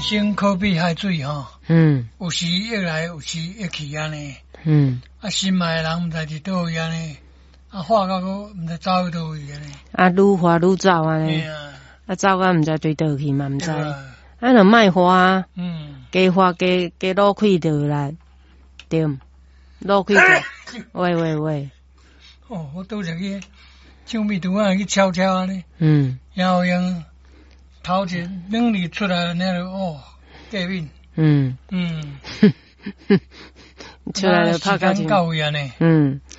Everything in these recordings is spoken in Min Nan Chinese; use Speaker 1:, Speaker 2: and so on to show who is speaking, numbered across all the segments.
Speaker 1: 生可比海水吼，有時會來，有時會去按呢。啊，心愛的人毋知佇佗位按呢，啊，化到閣毋知走去佗位按呢。
Speaker 2: 啊，愈化愈走按呢。啊，走到毋知對佗去嘛毋知。啊，就莫化，加化加加落氣就啦，對，落氣就，喂喂喂。
Speaker 1: 哦，我拄則去唱蜜拄仔去悄悄按呢。然後用頭一兩日出來，那就哦，過敏。
Speaker 2: 出來就拍到
Speaker 1: 到位按呢。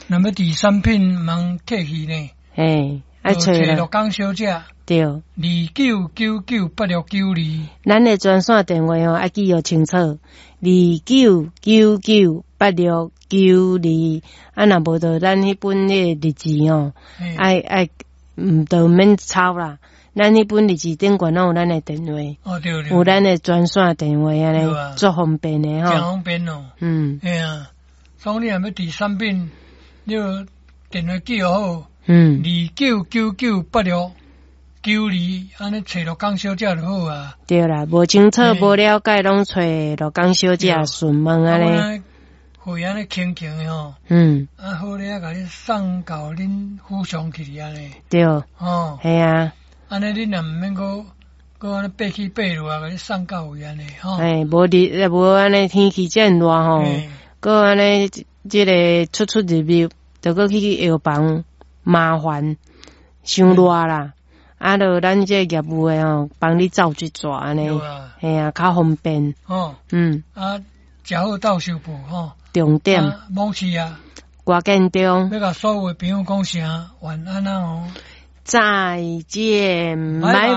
Speaker 1: 若欲佇產品通客氣呢。
Speaker 2: 嘿，愛揣
Speaker 1: 陸港小姐。
Speaker 2: 對。
Speaker 1: 29998692。
Speaker 2: 咱的專線電話哦，愛記予清楚。29998692。啊，若無就咱彼本彼个日誌哦，愛愛毋都免抄啦。咱彼本日誌頂懸攏有咱的電話。
Speaker 1: 哦，對對。
Speaker 2: 有咱的專線電話按呢，足方便的吼。
Speaker 1: 誠方便哦。嘿啊，所以你若欲佇產品，你就電話記好。29998692，按呢揣陸港小姐就好啊。
Speaker 2: 對啦，無清楚、無了解，攏揣陸港小姐詢問按呢。
Speaker 1: 貨按呢輕輕的吼。啊好咧，共你送到恁府上去按呢。
Speaker 2: 對。
Speaker 1: 哦。
Speaker 2: 嘿啊。
Speaker 1: 按呢，恁也毋免閣閣按呢爬起爬落啊，共你送到位按呢吼。
Speaker 2: 嘿，無日無按呢天氣遮爾熱吼，閣按呢這个出出入入，著閣去藥房麻煩，傷熱啦。啊，著咱這個業務的吼，幫你走一逝按呢，嘿啊，較方便。
Speaker 1: 哦。啊，食好鬥相報吼。
Speaker 2: 重點。
Speaker 1: 罔去啊。
Speaker 2: 歌建中。
Speaker 1: 欲共所有的朋友講聲晚安啊哦。
Speaker 2: 再見，拜拜。